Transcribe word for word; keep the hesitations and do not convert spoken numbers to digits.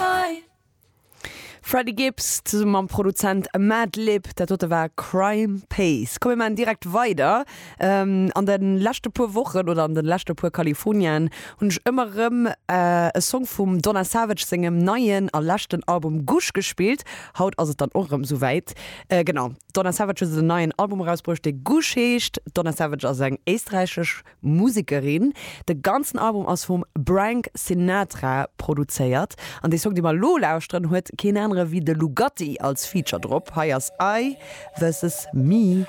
fight. Freddie Gibbs zesumme mam Produzent Madlib, dat dote war Crime Pays. Komm mir maachen direkt weider. An de leschte puer Wochen oder an de leschte puer Californiaen hunn ech ëmmer erëm e Song vum Donna Savage sengem neien a leschten Album Gush gespillt. Haut ass et dann och erëm souwäit. Genau, d'Donna Savage huet en neien Album erausbruecht, dee Gush heescht. D'Donna Savage ass eng éisträichesch Musekerin. De ganzen Album ass vum Brank Sinatra produzéiert an dee Song, dee mer elo lauschteren, huet keen anere wéi de Lugatti als Feature drop. Hei ass I versus Me.